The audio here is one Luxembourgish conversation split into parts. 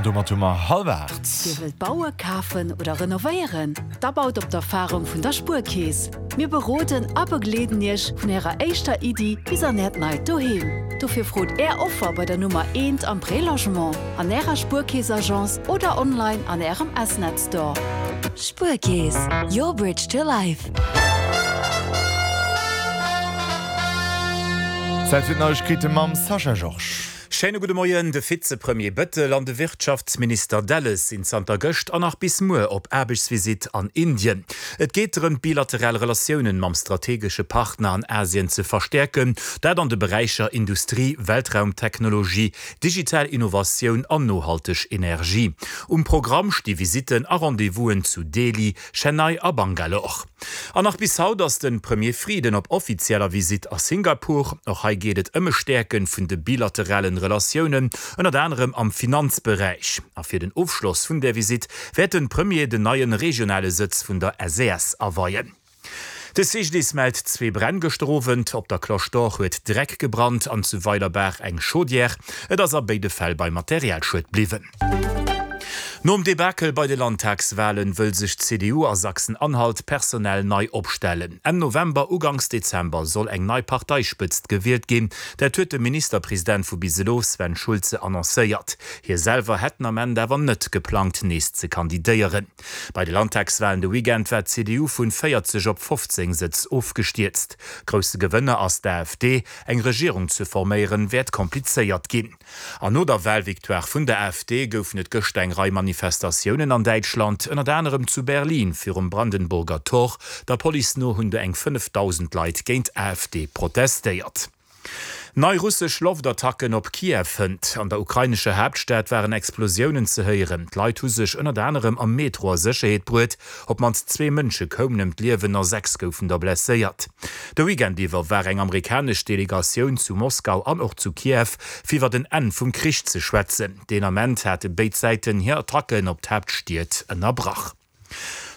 domat hu mer hallwer 8. Dir wëllt baue, kafen oder renovéieren? Da baut op d'Erfarung vun der Spuerkeess. Mir beroden a begleeden Iech vun Ärer éischter Iddi bis an Äert neit Doheem. Dofir frot Är Offer bei der Nummer eent am Prélogement, an Ärer Spuerkeess-Agence oder online an Ärem S-Net Store. Spuerkeess, your bridge to life. Zäit fir d'Neiegkeete mam Sascha Georges. Schéine gudde Moien. De Vizepremier Bettel an de Wirtschaftsminister Delles sinn zanter gëscht an nach bis muer op Aarbechtsvisitt an Indien. Et geet drëm, d'bilateral Relatiounen mam strategesche Partner an Asien ze verstäerken, dat an de Beräicher Industrie, Weltraumtechnologie, digital Innovatioun an nohalteg Energie. Um Programm sti Visitten a Rendez-vousen zu Delhi, Chennai a Bangalore. An nach bis haut ass de Premier Frieden op offizieller Visitt a Singapur. Och hei geet et ëm e Stäerke vun de bilateralen Relatiounen, ënnert anerem am Finanzberäich. A fir den Ofschloss vun där Visitt wäert de Premier den neie regionale Sëtz vun der SES aweien. De CGDIS mellt zwee Bränn gëschter Owend. Op der Cloche d'Or huet Dreck gebrannt an zu Weilerbaach eng Chaudière. Et ass a béide Fäll bei Materialschued bliwwen. Nom Debakel bei de Landtagswalen wëll sech d'CDU a Sachsen-Anhalt personell nei opstellen. Enn November, Uganks Dezember soll eng nei Parteispëtzt gewielt ginn. Dat huet de Ministerpresident vu bis elo, Sven Schulze, annoncéiert. Hie selwer hätt den Ament awer net geplangt, nees ze kandidéieren. Bei de Landtagswalen de Weekend war d'CDU vun 40 op 15 Sëtz ofgestierzt. Grousse Gewënner ass d'AfD. Eng Regierung ze forméieren, wäert komplizéiert ginn. An no der Walvictoire vun der AfD goufen et gëschter eng Rei Manifestatiounen an Däitschland, ënnert anerem zu Berlin virum Brandenburger Tor. Der Police no hunn do eng 5.000 Leit géint d'AfD protestéiert. Nei russesch Loftattacken op Kiew hënt. An der ukrainescher Haaptstad waren Explosiounen ze héieren. D'Leit hu sech ënnert anerem am Metro a Sécherheet bruet. Op d'mannst zwee Mënsche koumen ëm d'Liewen a 6 goufen der blesséiert. De Weekend iwwer war eng amerikanesch Delegatioun zu Moskau an och zu Kiew, fir iwwer en Enn vum Krich ze schwätzen. Deen Ament hate béid Säiten hir Attacken op d'Haaptstied ënnerbrach.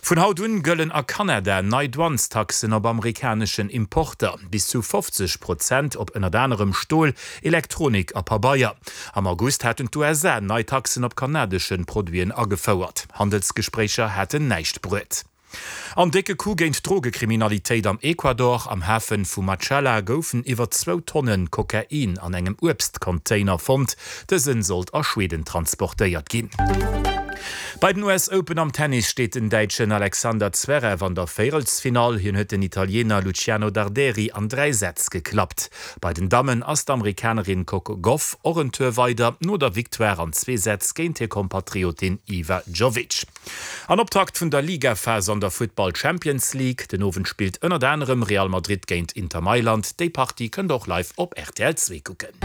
Vun haut un gëllen a Kanada nei Douanestaxen op amerikaneschen Importer, bis zu 50 Prozent op ënnert anerem Stol, Elektronik a Pabeier. Am August haten d'USA nei Taxen op kanadesche Produiten agefouert. Handelsgespréicher haten näischt bruet. An décke Coup géint d'Drogekriminalitéit am Ecuador, Am Hafe vu Machala goufen iwwer zwou Tonne Kokain an engem Uebstcontainer fonnt. Dësen sollt a Schweden transportéiert ginn. Bei den US Open am Tennis steet den Däitschen Alexander Zverev an der Véierelsfinall. Hien huet den Italiener Luciano Darderi an 3 Sätz geklappt. Bei den Dammen ass d'Amerikanerin Coco Gauff och en Tour weider, no der Victoire an zwee Sätz géint hir Kompatriotin Iva Jovic. An Optakt vun der Ligaphas an der Futtball Champions League. Den Owend spillt ënnert anerem Real Madrid géint Inter Mailand. Déi Partie kënnt der och live op rtl 2 kucken.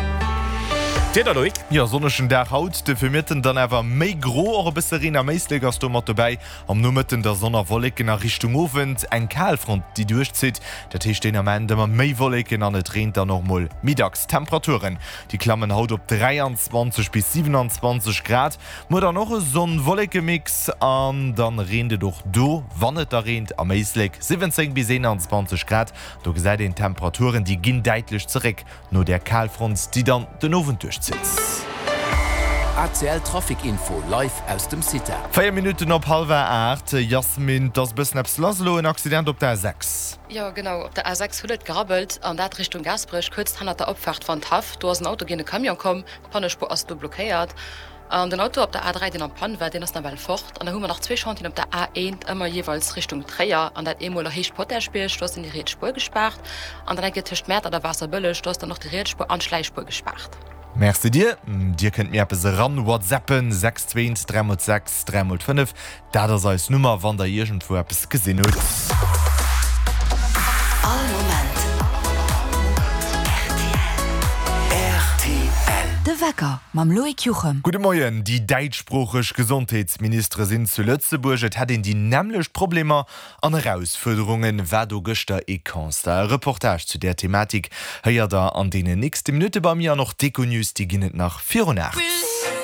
D'Wieder, Loïc? Jo, sonnegen Dag haut, de Virmëtten dann awer méi gro, och e bësse Reen a Méislek ass do mat dobäi. Am Nomëtten da Sonn a Wolleken a Richtung Owend eng Kalfront déi duerchzitt. Dat heescht deen Ament ëmmer méi Wolleken an et reent dann och mol méi dacks. D'Temperaturen déi klammen haut op 23 bis 27 Grad. Muer dann och e Sonn-Wolleke-Mix an dann reent et och do, wann et da reent, am Éislek 17 bis 21 Grad. Do gesäit een d'Temperaturen, déi ginn däitlech zeréck no där Kalfront, déi dann den Owend duerchzitt. ACL Trafic Info live aus dem CITA. 4 Minutten op hallwer 8, Yasmin, 't ass e bëssen eppes lass elo, en Accident op der A6. Jo genau, op der A6 huet et gerabbelt an dat Richtung Gaasperech, kuerz hannert der Opfaart Wandhaff. Do ass en Auto géint e Camion komm, d'Pannespuer ass do blockéiert. An den Auto op der A3, deen am Panne war, deen ass nawell fort. An da hu mer nach zwee Chantieren op der A1, ëmmer jeeweils Richtung Tréier, an dat eemol a Héicht Potaschbierg, do ass dann déi riets Spuer gespaart. An dann eng Kéier tëscht Mäertert a Waasserbëlleg, do ass dann och déi riets Spuer an d'Schläichspuer gespaart. Merci dir. Dir kënnt mir eppes eran whatsappen, 6 2 3 mol 6 3 mol 5, Dat ass eis Nummer, wann der iergendwou eppes gesinn hutt. All Moment rtl. De Wecker mam Loïc Juchem. Gudde Moien. Déi däitschsproocheg Gesondheetsministere sinn zu Lëtzebuerg. Et hätt een déi nämmlecht Problemer an Erausfuerderungen, war do gëschter ee Constat. E Reportage zu där Thematik héiert der an deenen nächste Minutte bei mir an och d'Econews, déi ginn et nach virun 8.